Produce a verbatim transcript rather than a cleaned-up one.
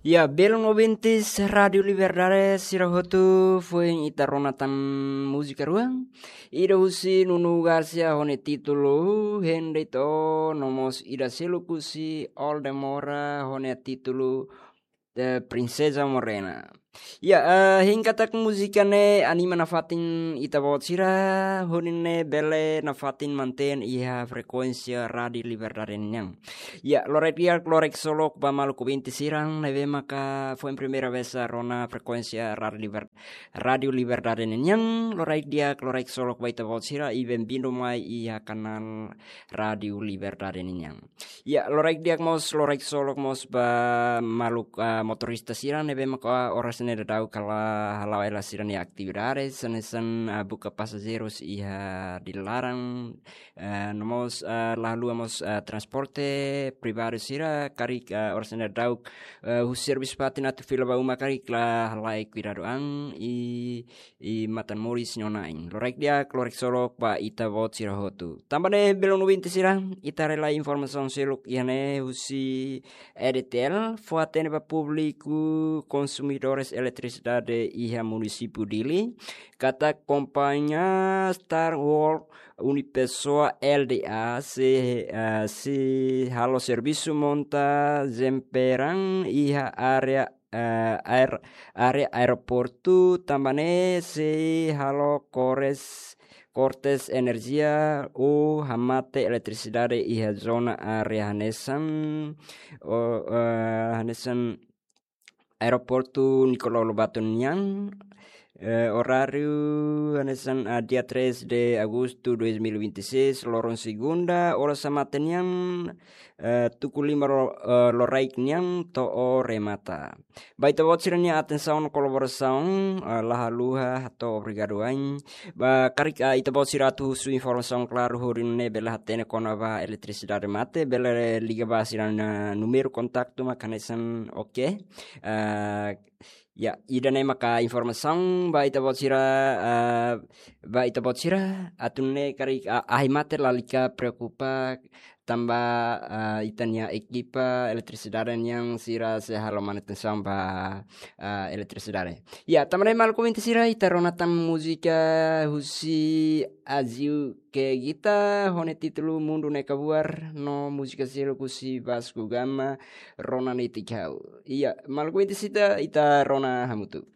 Ya, belun ouvintes Rádiu Liberdade sira hotu, foin ita rona tan múzika rua. Ida husi Nuno Garcia ho nia títulu Hende To, no mós ida seluk husi Oldemora ho nia títulu, eh, Princesa Morena. Ya, eh, hein katak múzika ne'e anima nafatin ita-boot sira, hodi nune'e bele nafatin mantein iha frekuénsia Rádiu Liberdade nian. Ya, loraik di'ak, loraik ksolok ba maluk ouvinte sira ne'ebé maka foin primeira vez rona frekuénsia Rádiu Liber-, Rádiu Liberdade nian. Loraik di'ak, loraik ksolok ba ita-boot sira, i bem-vindo mai iha kanál Rádiu Liberdade nian. Ya, loraik di'ak mós, loraik ksolok mós ba maluk, ah, motorista sira ne'ebé maka oras ne'e daudaun kala hala'o hela sira-nia atividades, hanesan, ah, buka pasajeirus iha di'ak laran, eh, no mós, eh, la haluha mós, eh, transporte privadu sira karik, eh, oras ne'e daudaun, eh, husi servisu fatin atu fila ba uma karik la halai kuidadu an i, i matan moris nia ona ain. Loraik di'ak, loraik ksolok ba ita-boot sira hotu. Tanba ne'e belun ouvinte sira, ita haree lai informasaun seluk iha ne'e husi E D T L, fó-hatene ba públiku konsumidores eletrisidade iha munisípiu Dili, katak kompañia Star World Unipessoa L D A sei, eh, sei halo servisu monta jemperan iha área, eh, aer-, área aeroportu, tanba ne'e sei halo kores, kortes enerjia ou hamate eletrisidade iha zona área hanesan, o, eh, hanesan Aeroportu Nicolau Lobato nian, eh, oráriu hanesan, ah, dia três de agosto dois mil e vinte e seis, loron segunda, oras hamate nian, eh, tuku lima lo-, eh, loraik nian to'o remata. Ba ita-boot sira-nia atensaun no kolaborasaun, eh, la haluha hato'o obrigadu wa'in. Ba karik, ah, ita-boot sira atu husu informasaun klaru hodi nune'e bele hatene kona-ba eletrisidade mate, bele liga ba sira-nia númeru kontaktu maka hanesan, oke. Ah, ya, ida-ne'e maka informasaun ba ita-boot sira, ah, ba ita-boot sira atu nune'e karik, ah, ahi mate lalika preokupa tanba, ah, ita-nia ekipa eletrisidade nian sira sei halo manutensaun ba, ah, eletrisidade. Ya, tanba ne'e maluk ouvinte sira, ita rona tan múzika husi Aziu Kegita ho nia títulu Mundu Ne'e Kabuar, no múzika seluk husi Vasco Gama, Rona Netik Ha'u. Ya, maluk ouvinte sira, ita rona hamutuk.